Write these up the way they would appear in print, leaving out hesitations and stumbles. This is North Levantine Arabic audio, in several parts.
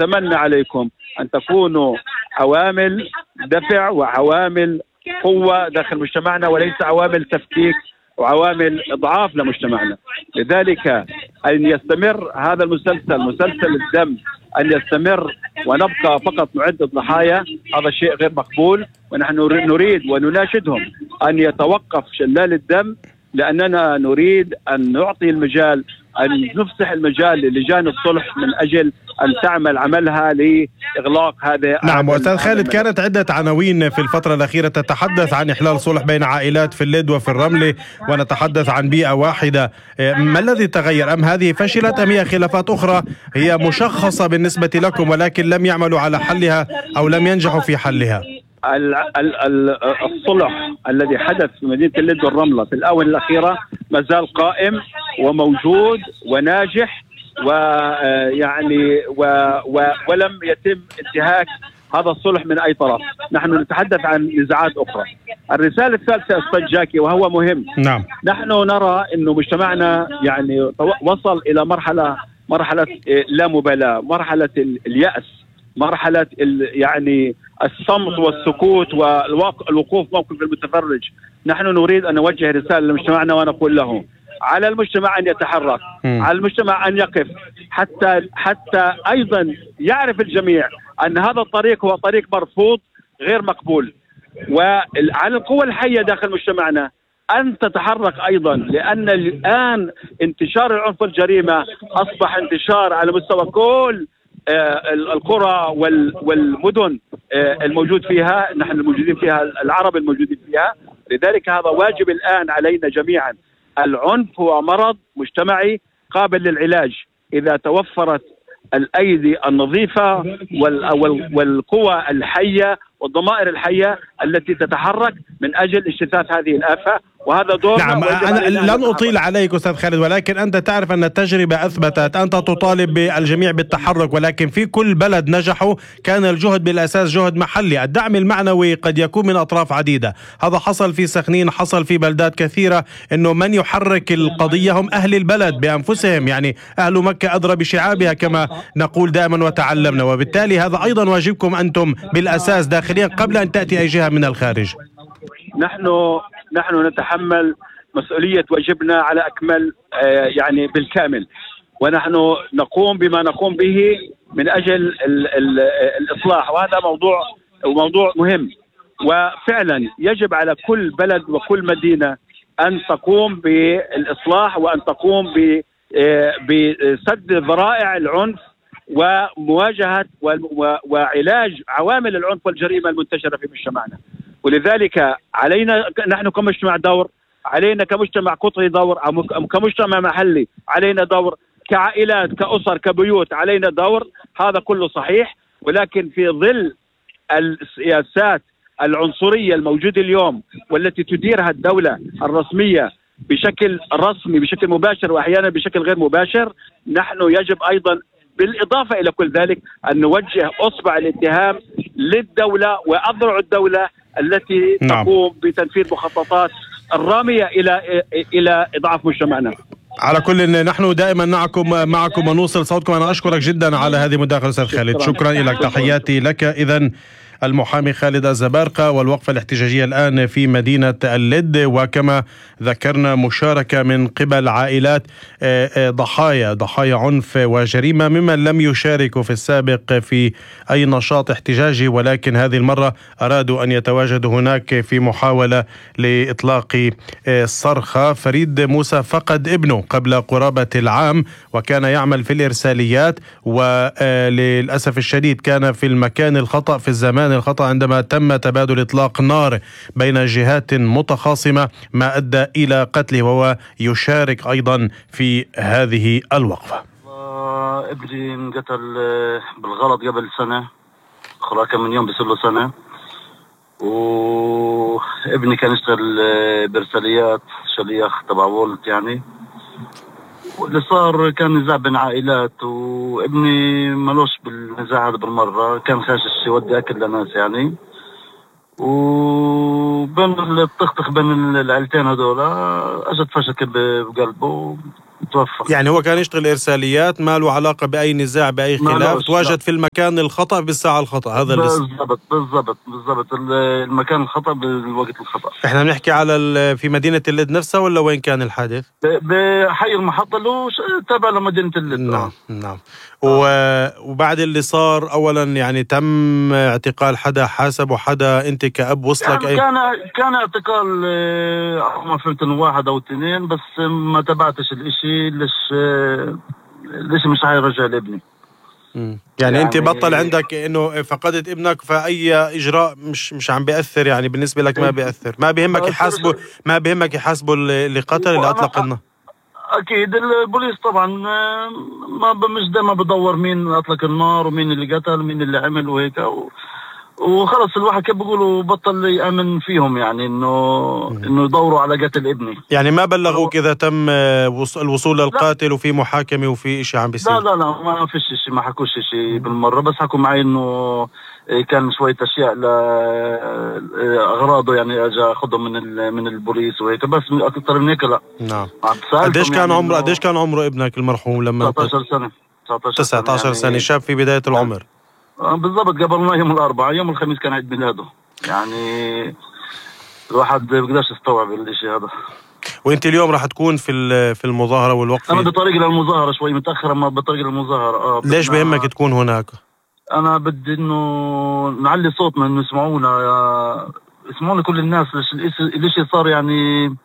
نتمنى عليكم أن تكونوا عوامل دفع وعوامل قوة داخل مجتمعنا، وليس عوامل تفكيك وعوامل إضعاف لمجتمعنا. لذلك أن يستمر هذا المسلسل، مسلسل الدم، أن يستمر ونبقى فقط نعد الضحايا، هذا شيء غير مقبول. ونحن نريد ونناشدهم أن يتوقف شلال الدم، لأننا نريد أن نعطي المجال، أن نفسح المجال للجان الصلح من أجل أن تعمل عملها لإغلاق هذا. نعم أستاذ خالد، كانت عدة عناوين في الفترة الأخيرة تتحدث عن إحلال صلح بين عائلات في اللد وفي الرملة، ونتحدث عن بيئة واحدة. ما الذي تغير؟ أم هذه فشلت، أم هي خلافات أخرى هي مشخصة بالنسبة لكم ولكن لم يعملوا على حلها أو لم ينجحوا في حلها؟ الصلح الذي حدث في مدينة اللد والرملة في الآونة الأخيرة ما زال قائم وموجود وناجح، ويعني ولم يتم انتهاك هذا الصلح من أي طرف. نحن نتحدث عن نزاعات أخرى. الرسالة الثالثة أستاذ جاكي وهو مهم. نعم. نحن نرى إنه مجتمعنا يعني وصل إلى مرحلة لا مبالاة، مرحلة اليأس، مرحلة يعني الصمت والسكوت والوقوف موقف المتفرج. نحن نريد أن نوجه رسالة لمجتمعنا ونقول له على المجتمع أن يتحرك، على المجتمع أن يقف، حتى أيضا يعرف الجميع أن هذا الطريق هو طريق مرفوض غير مقبول. وعلى القوى الحية داخل مجتمعنا أن تتحرك أيضا، لأن الآن انتشار العنف والجريمة أصبح انتشار على مستوى كل القرى والمدن الموجود فيها، نحن الموجودين فيها، العرب الموجودين فيها. لذلك هذا واجب الآن علينا جميعا. العنف هو مرض مجتمعي قابل للعلاج إذا توفرت الأيدي النظيفة والقوى الحية والضمائر الحية التي تتحرك من أجل اجتثاث هذه الآفة، وهذا دور. نعم، أنا لن أطيل عليك أستاذ خالد، ولكن أنت تعرف أن التجربة أثبتت، أنت تطالب بالجميع بالتحرك، ولكن في كل بلد نجحوا كان الجهد بالأساس جهد محلي. الدعم المعنوي قد يكون من أطراف عديدة، هذا حصل في سخنين، حصل في بلدات كثيرة، أنه من يحرك القضية هم أهل البلد بأنفسهم، يعني أهل مكة أدرى بشعابها كما نقول دائما وتعلمنا. وبالتالي هذا أيضا واجبكم أنتم بالأساس داخليا قبل أن تأتي أي جهة من الخارج. نحن نتحمل مسؤولية واجبنا على أكمل يعني بالكامل، ونحن نقوم بما نقوم به من أجل الإصلاح، وهذا موضوع مهم. وفعلا يجب على كل بلد وكل مدينة أن تقوم بالإصلاح وأن تقوم بسد ذرائع العنف ومواجهة وعلاج عوامل العنف والجريمة المنتشرة في مجتمعنا. ولذلك علينا نحن كمجتمع دور، علينا كمجتمع قطري دور، أو كمجتمع محلي علينا دور، كعائلات كأسر كبيوت علينا دور. هذا كله صحيح، ولكن في ظل السياسات العنصرية الموجودة اليوم والتي تديرها الدولة الرسمية بشكل رسمي بشكل مباشر وأحيانا بشكل غير مباشر، نحن يجب أيضا بالإضافة إلى كل ذلك أن نوجه أصبع الاتهام للدولة وأذرع الدولة التي تقوم بتنفيذ مخططات الرامية إلى إضعاف مجتمعنا. على كل نحن دائما معكم ونوصل صوتكم. أنا أشكرك جدا على هذه المداخلة أستاذ خالد، شكرا لك، تحياتي لك. إذن المحامي خالد الزبارقة، والوقفة الاحتجاجية الآن في مدينة اللد، وكما ذكرنا مشاركة من قبل عائلات ضحايا عنف وجريمة ممن لم يشاركوا في السابق في أي نشاط احتجاجي، ولكن هذه المرة أرادوا أن يتواجدوا هناك في محاولة لإطلاق صرخة. فريد موسى فقد ابنه قبل قرابة العام وكان يعمل في الإرساليات، وللأسف الشديد كان في المكان الخطأ في الزمان الخطأ عندما تم تبادل إطلاق نار بين جهات متخاصمة ما أدى إلى قتله، وهو يشارك أيضا في هذه الوقفة. ابني انقتل بالغلط قبل سنة، خلاص كم من يوم بيصير سنة. وابني كان يشتغل برساليات شليخ تبع وولت يعني. واللي صار كان نزاع بين عائلات، وابني ملوش بالنزاع هذا بالمرة، كان خاشش يودي أكل لناس يعني. وبين الطخطخ بين العائلتين هذولا اجت فشل بقلبه، توفى. يعني هو كان يشتغل إرساليات، ما له علاقة بأي نزاع بأي خلاف، تواجد في المكان الخطأ بالساعة الخطأ. هذا بالضبط المكان الخطأ بالوقت الخطأ. احنا بنحكي على في مدينة اللد نفسها ولا وين كان الحادث؟ بحي المحطة اللي تابع لمدينة اللد. نعم. وبعد اللي صار أولا يعني تم اعتقال حدا حاسب وحدا أنت كأب وصلك يعني كان اعتقال ما فهمت انه 1 أو 2 بس ما تبعتش الاشي. ليش مش هيرجع لابني. يعني انت بطل عندك انه فقدت ابنك، فاي اجراء مش عم بيأثر يعني بالنسبة لك، ما بيأثر، ما بيهمك يحاسبوا اللي قتل اللي اطلق النار. اكيد البوليس طبعا مش دائما بدور مين اطلق النار ومين اللي قتل ومين اللي عمل وهيك وخلص الواحد كيف بيقولوا بطل يأمن فيهم، يعني انه يدوروا على قتل ابني. يعني ما بلغوك اذا تم الوصول للقاتل وفي محاكمة وفي اشي عم بيصير؟ لا ما فيش شيء، ما حكوش شيء بالمرة، بس حكوا معي انه كان شوية اشياء لاغراضه، يعني اجى اخذهم من البوليس وهيك، بس اكثر من هيك لا. نعم. قديش كان يعني عمره ابنك المرحوم لما 19 سنة؟ شاب في بداية العمر. بالضبط. قبلنا يوم الأربعاء، يوم الخميس كان عيد ميلاده، يعني الواحد بيقدرش يستوعب الشيء هذا. وانت اليوم راح تكون في المظاهرة والوقفة؟ انا بطريق للمظاهرة، شوي متأخر اما بطريق للمظاهرة. ليش بهمك تكون هناك؟ انا بدي انه نعلي صوتنا، انه يسمعونا كل الناس. الاشي صار يعني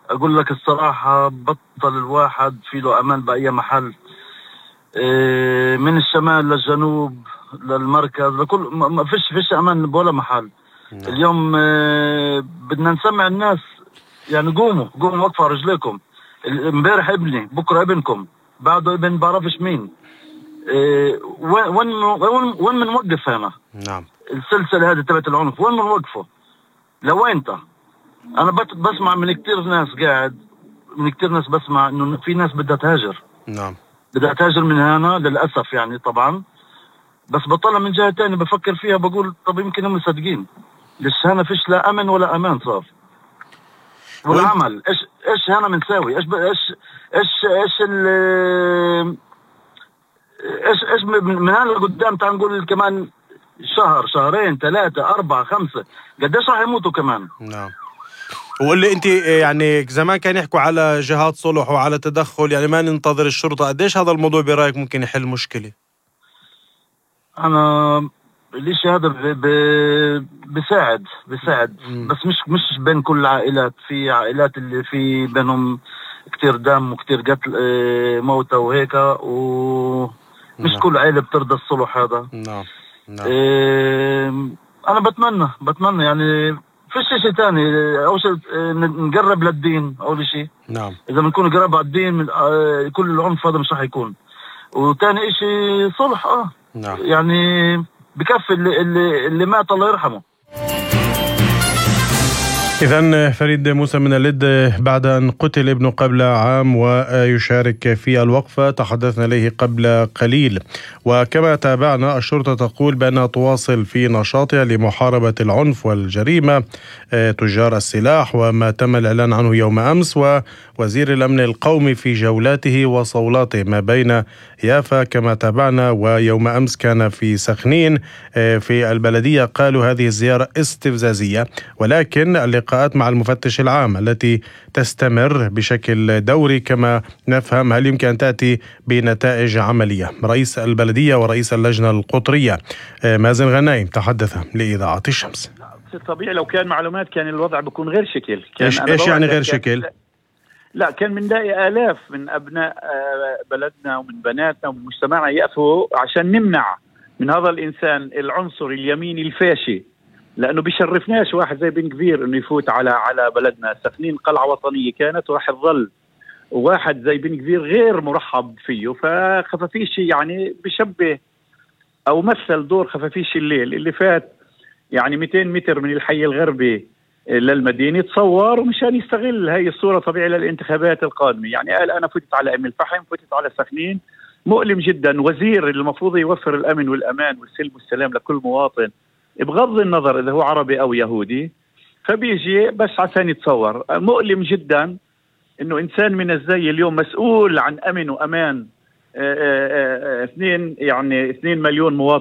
اقول لك الصراحة بطل الواحد في له امان بأي محل، من الشمال للجنوب للمركز لكل ما فيش امان بولا محل. اليوم بدنا نسمع الناس، يعني قوموا وقفوا رجليكم. امبارح ابني، بكره ابنكم، بعده ابن بعرفش مين. وين بنوقف هنا؟ نعم. السلسله هذه تبعت العنف وين بنوقفه؟ لوين انت؟ انا بسمع من كتير ناس بسمع انه في ناس بدها تهاجر. نعم. بدها تهاجر من هنا للأسف يعني طبعا، بس بطلع من جهة تانية بفكر فيها بقول طب يمكن هم صادقين، ليش هنا فيش لا أمن ولا أمان صار. والعمل إيش هنا بنساوي؟ إيش من هنا لقدام تعال نقول كمان شهر 2 3 4 5 قديش راح يموتوا كمان. نعم. وقولي انت يعني زمان كان يحكوا على جهات صلح وعلى تدخل، يعني ما ننتظر الشرطة، قديش هذا الموضوع برأيك ممكن يحل مشكلة؟ انا الاشي هذا بيساعد بس مش بين كل العائلات. في عائلات اللي في بينهم كتير دم وكتير قتل موتى وهيك، ومش كل عائلة بترضى الصلح هذا. نعم. انا بتمنى يعني فيش شيء تاني. أول شيء نقرب للدين أول شيء. نعم. إذا بنكون قرب على الدين من كل العنف هذا مش راح يكون. وتاني شيء صلح. نعم. يعني بكفي اللي مات الله يرحمه. إذن فريد موسى من اللد، بعد أن قتل ابنه قبل عام ويشارك في الوقفة تحدثنا إليه قبل قليل. وكما تابعنا، الشرطة تقول بأنها تواصل في نشاطها لمحاربة العنف والجريمة تجار السلاح، وما تم الإعلان عنه يوم أمس، ووزير الأمن القومي في جولاته وصولاته ما بين يافا كما تابعنا، ويوم أمس كان في سخنين في البلدية. قالوا هذه الزيارة استفزازية، ولكن اللقاءات مع المفتش العام التي تستمر بشكل دوري كما نفهم، هل يمكن أن تأتي بنتائج عملية؟ رئيس البلدية ورئيس اللجنة القطرية مازن غنايم تحدث لإذاعة الشمس. طبيعي لو كان معلومات كان الوضع بيكون غير شكل. إيش يعني غير شكل؟ لا، كان من داعي آلاف من أبناء بلدنا ومن بناتنا ومن مجتمعنا يقفوا عشان نمنع من هذا الإنسان العنصر اليميني الفاشي، لأنه بيشرفناش واحد زي بن كبير إنه يفوت على بلدنا. سخنين قلعة وطنية كانت وراح تظل، وواحد زي بن كبير غير مرحب فيه. فخفافيش يعني بشبه أو مثل دور خفافيش الليل اللي فات، يعني 200 متر من الحي الغربي للمدينة تصور ومشان يستغل هاي الصورة طبيعي للانتخابات القادمة. يعني قال أنا فتت على أم الفحم، فتت على سخنين. مؤلم جدا. وزير المفروض يوفر الأمن والأمان والسلم والسلام لكل مواطن بغض النظر إذا هو عربي أو يهودي، فبيجي بس عشان يتصور. مؤلم جدا انه انسان من الزي اليوم مسؤول عن امن وامان 2 مليون مواطن